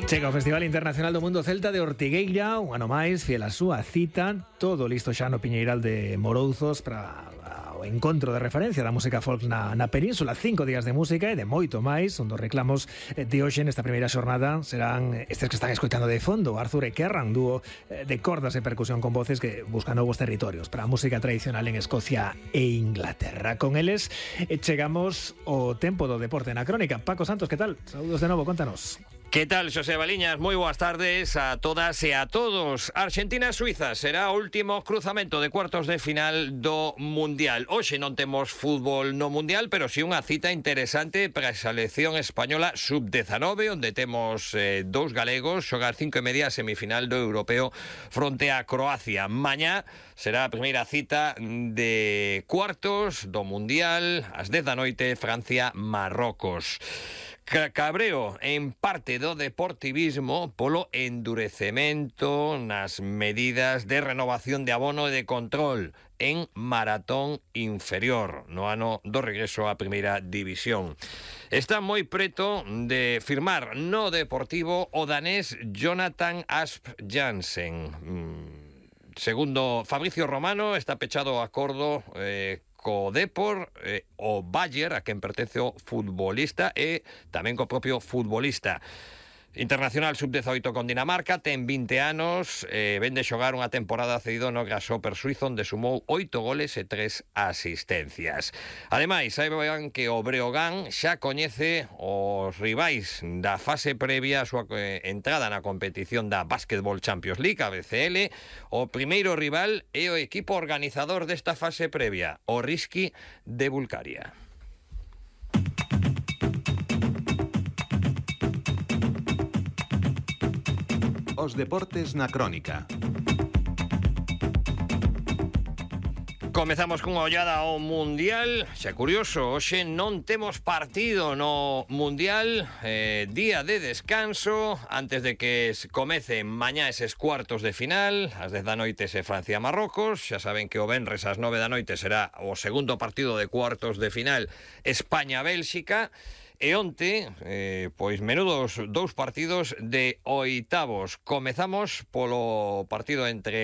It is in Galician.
Chega o Festival Internacional do Mundo Celta de Ortigueira, un ano máis, fiel a súa cita, todo listo xa no Piñeiral de Morouzos para o encontro de referencia da música folk na península. 5 días de música e de moito máis. Un dos reclamos de hoxe nesta primeira xornada serán estes que están escoitando de fondo, Arthur e Kerrang, dúo de cordas e percusión con voces que buscan novos territorios para a música tradicional en Escocia e Inglaterra. Con eles chegamos ao tempo do deporte na crónica. Paco Santos, que tal? Saúdos de novo, contanos. ¿Qué tal, Xosé Baliñas? Moi boas tardes a todas e a todos. Argentina-Suiza será o último cruzamento de cuartos de final do Mundial. Hoxe non temos fútbol no Mundial, pero si unha cita interesante para a selección española sub-19, onde temos dous galegos xogar 5:30 a semifinal do Europeo fronte a Croacia. Mañá será a primeira cita de cuartos do Mundial, ás 10 da noite, Francia-Marrocos. Cabreo en parte do deportivismo polo endurecemento nas medidas de renovación de abono e de control en maratón inferior no ano do regreso á primeira división. Está moi preto de firmar no Deportivo o danés Jonathan Asp Jansen. Segundo Fabricio Romano, está pechado o acordo co Depor, o Bayer, a quen pertence o futbolista, e tamén co propio futbolista. Internacional sub-18 con Dinamarca, ten 20 anos, ven de xogar unha temporada cedido no Grasshopper suizo, onde sumou 8 goles e 3 asistencias. Ademais, saiban que o Breogán xa coñece os rivais da fase previa a súa entrada na competición da Basketball Champions League, a BCL. O primeiro rival é o equipo organizador desta fase previa, o Rizki de Bulgaria. Os deportes na crónica. Comezamos cunha ollada ao Mundial. Xa curioso, hoxe non temos partido no Mundial, día de descanso antes de que comecen mañá eses cuartos de final. Ás 10 da noite se Francia-Marrocos. Xa saben que o venres ás 9 da noite será o segundo partido de cuartos de final, España-Bélxica. E onte, pois menudos dous partidos de oitavos. Comezamos polo partido entre